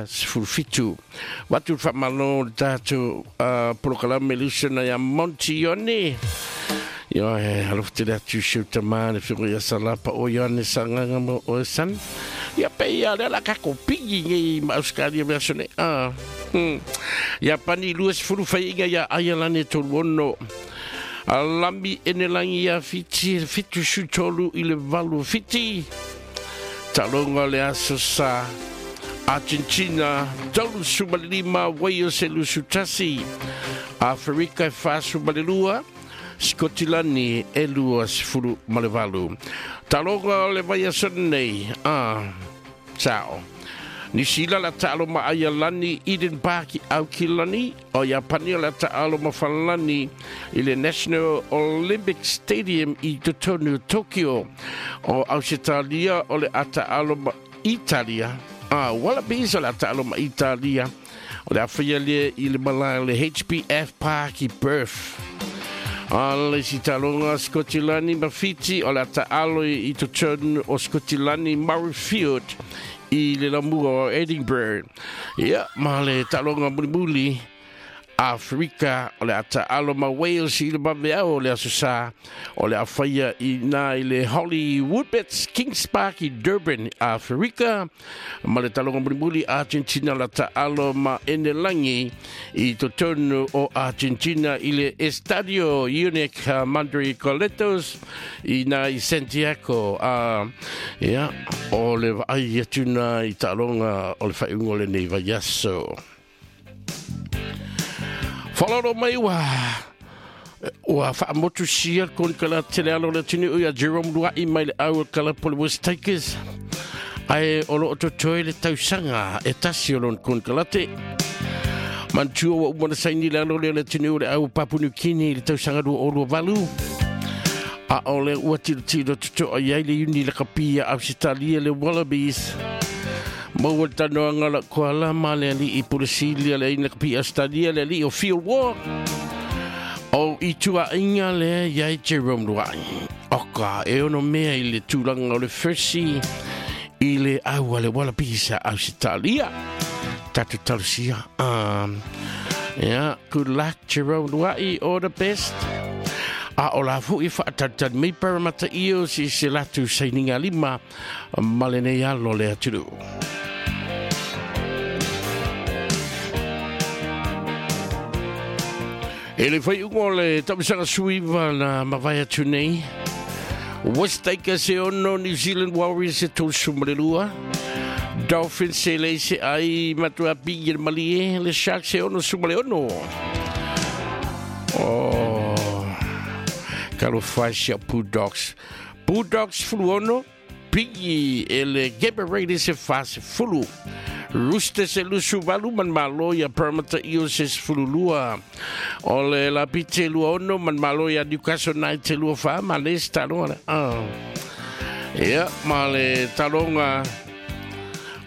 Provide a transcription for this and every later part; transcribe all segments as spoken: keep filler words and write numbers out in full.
Sefulu fitu. Watu whamalo le tātou uh, polokalame lusana ia Monty Ione. Ia he alofa tele atu si o tamā le whiro ia salapa o Ioane sanganga mo o e san. Ia pe ia le ala kako pigi ngei ma Australia mea sone. Ah. Hmm. Ia pani lua sefulu whaiinga ia Aialane tolu ono. Alami enelangi ia fiti fitu su tolu i le valu fiti. Talonga le aso sa Argentina tolu sumalima Wales e lusu tasi. Afrika e fa sumalilua Scotilani e lua sefulu malevalu. Talonga o le vaiaso nei. Ah, ciao. Nisila la taalo ma Aialani Eden Park i Aukilani o Iapani la taalo ma Falani i le National Olympic Stadium i totonu Tokyo. O Australia o le ataalo ma Italia. Ah, Wallabies o le ataalo ma Italia. O le awhia le i le malae le H B F Park i Perth. A le sitalonga Scotilani ma Fiti o le ataalo i totonu o Scotilani Murrayfield i le lamua o Edinburgh. Ia, ma le talonga mulimuli Afrika o le ataalo ma Wales i le maveao o le aso sa o le awhaia i nā i le Hollywoodbets Kings Park i Durban, Afrika. Ma le talonga mulimuli Argentina la taalo ma Enelangi i totonu o Argentina i le Estadio Unic Mandri Coletos i nā i Santiago. Uh, ia, o le vaai atu nā i talonga o le whaiungo le nei vaiaso. Whalaro mai ua ua whaamotu sia konikala tele alo le tini ui a Jerome Luai mai le au kala pole West Tigers. Ai o lo ototoi le tausanga e tasi o lon konikala te. Mantua ua umana saini le alo le le tini ui le au Papunukini le tausanga dua o lua valu. A o le ua tilo tilo tuto ai le uni le kapia Australia le Wallabies. Maua le tanoanga la koala ma le ali i Pulisilia le ina kapi Australia le ali o Field Walk. O i tua inga le iai Jerome Luai. Oka e ono mea i le tūlanga o le first i le aua le Wallabies a Australia. Tatu talusia. Um, yeah, good luck Jerome Luai, all the best. A o la fui whaatatan mei paramata iyo si se latu saininga lima malene alo le aturu. E le whai ungo le tamisanga suiva na mawai atu nei. West Tigers e ono, New Zealand Warriors e tolu sumalelua. Dolphins se le se ai matua pingi le malie, le Sharks e ono sumale ono. Oh, kalo whaisia Bulldogs. Bulldogs fulu ono, pingi e le Gabba Raiders e whase fulu. Roosters e lusu valu man malo ia Parramatta Eels e sefulu lua. O le Lapite lua ono man malo ia Newcastle Knights e lua wha, ma le talonga le. Ah. Ia, ma le talonga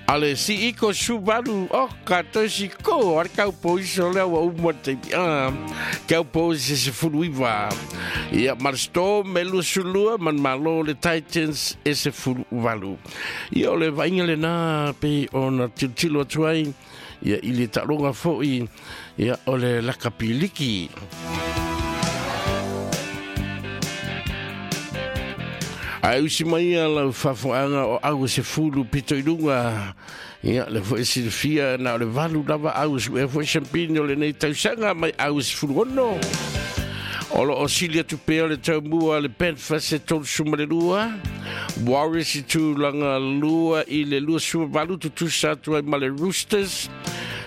a le si iko subaru, oh, ka tosi ko, ar kau poiso lea ua umua te, ah, kau poiso se sefulu iwa. Ia, ma le Storm e lusu lua, man malo le Titans e sefulu valu. Ia, o le vainga le nā, pe o na tilotilo atu ai, ia, i le talonga foi, ia, o le lakapiliki. Ai usi mai a lau whafoanga o au se fulu pito i lunga. Ia, le fo e silfia na o le valu lava au su e fo e champini o le nei tausanga mai au se fulu ono. O lo o silia tupea le taumua le Panthers e tolu suma le lua. Warriors i tūlanga lua i le lua suma valu tutusa atu ai ma le Roosters.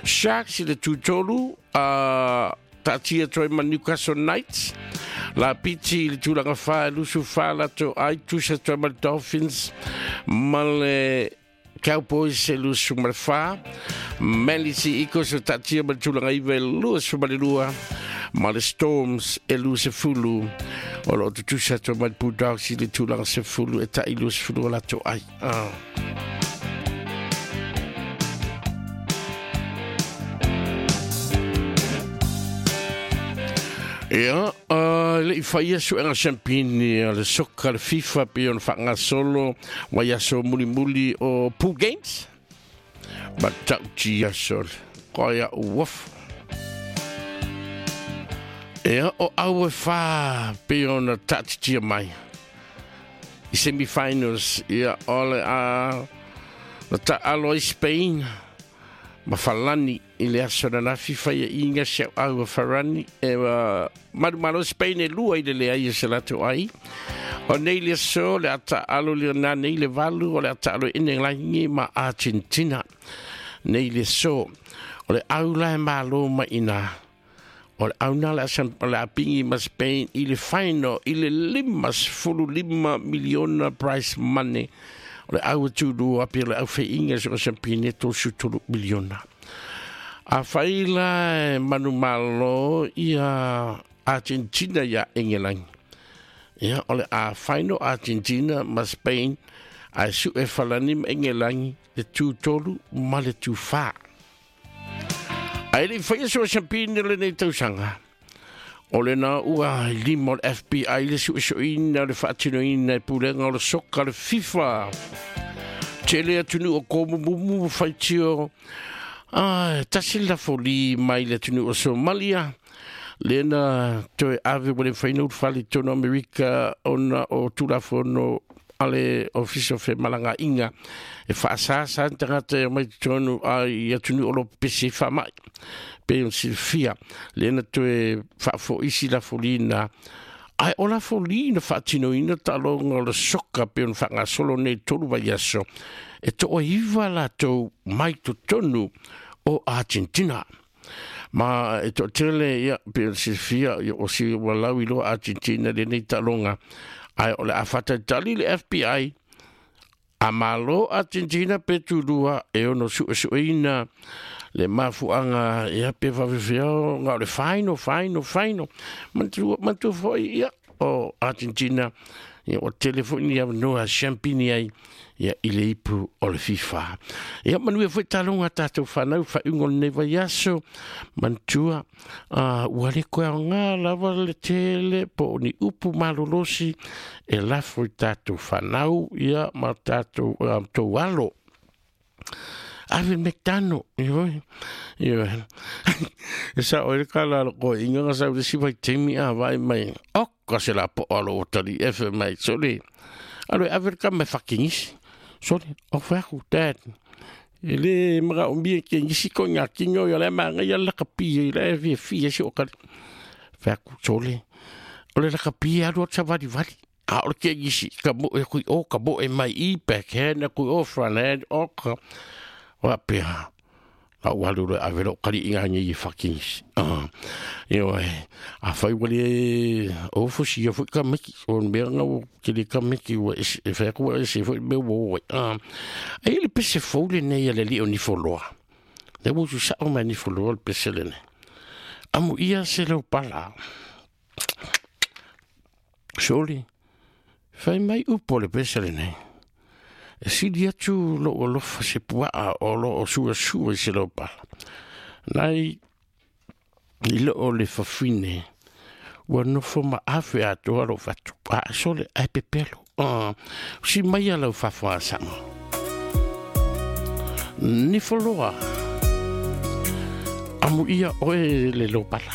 Sharks i le tūtolu, uh, taatia atu ai ma Newcastle Knights. La piti i le tūlanga wha, lusu wha lato ai, tusa atu ai ma le Dolphins. Ma le Cowboys e lusu ma le wha. Manly Sea Eagles o taatia ma le tūlanga iwa e lua suma le lua. Ma le Storms e lu se fulu. O lo tutusa atu ma le Bulldogs i le tūlanga se fulu e tai lu se fulu o lato ai. Ah. Ia, uh, le i whaia suenga champini le soka le FIFA pe ona whangasolo waiaso mulimuli o Pool Games. Ma tautia sole. Koia uof. Ea o au e wha pe ona tatitia mai. I semifinals, ia ole a na ta alo i Spain. Ma falani i le aso na nafi whai e inga se au a farani. E uh, maru malo Spain e lua i le lea i se lato ai. O nei le aso le ata alo le na nei le valu o le ata alo ine langi ma Argentina. Nei le aso o le aula e malo ma ina. O le auna le asan le apingi ma Spain i le final i le lima sefulu lima miliona prize money. O le au tūru api o le au whainga so sampine tō tolu miliona. A whaila e manu malo ia Argentina ia Engelangi. Ia o le a final Argentina ma Spain a su e falani ma Engelangi le tū tolu ma le tū wha. Ai le whaia sua champine le nei tausanga. O le na ua lima o le F B I le suesueina le faatinoina e pulega o le soka le FIFA. Tele atunu o komumumu whaitio. Ai, tasi la foli mai le atunu o Somalia. Lena toe ave wale whaina utfali tono Amerika ona o tulafono ale office of malanga inga e whaasasa tangata e mai tonu ai atunu o lo pese whamai. Pe on silfia lena toe whaafoisi la folina. Ai o la folina whaatinoina talonga o le soka pe on whangasolo nei tolu vai aso. E to iwa la tau mai tonu o Argentina. Ma e to tele ia pe on silfia o si walau ilo Argentina le nei talonga. Ai o le awhata tali le F B I a malo Argentina pe tūrua e ono suesueina le mafuanga ia pe wawewheo ngā o le whaino, whaino, whaino. Mantu, mantu foi ia o Argentina ia o telefoni ia noa champini ai ia i le ipu o le FIFA. Ia manue foi talonga tātou whanau whaungo nei vai aso mantua uh, ua le koe o ngā lava le tele po ni upu malolosi e lafo i tātou whanau ia ma tātou um, tau alo. Ave McDonald, io, io. E sa o le kala ko inga nga sa si vai temi a vai mai. O ka se la po alo o tali F mai sole. Alo ave ka me fucking is. Sole, o fa ku dad. Ele mara o mi ke ngisi ko nga kingo yo le manga ya la kapi le fi fi si o ka. Fa ku sole. O le la kapi a ro tsa vali vali. A o ke ngisi ka mo e ku o ka mo e mai i backhand ku o front hand o ka. Wapea, la walu le avelo kali inga ni fucking ah yo a fai wale o fusi yo ka miki on me nga o kili ka miki wa e fa ko e se foi me wo ah ai le pese fole nei le li oni foloa le wo su sa o mani foloa le pese le ne amu ia se lo pala soli fai mai upo le pese le ne. E sili atu lo o lofa se puaa o lo o sua sua i se lo pala. Nai i lo o le fafine ua nofo ma afe atoa lo fatu. A sole ai pepelo. Uh, si mai ala ufafo a sama. Ni foloa. Amu ia oe le lo pala.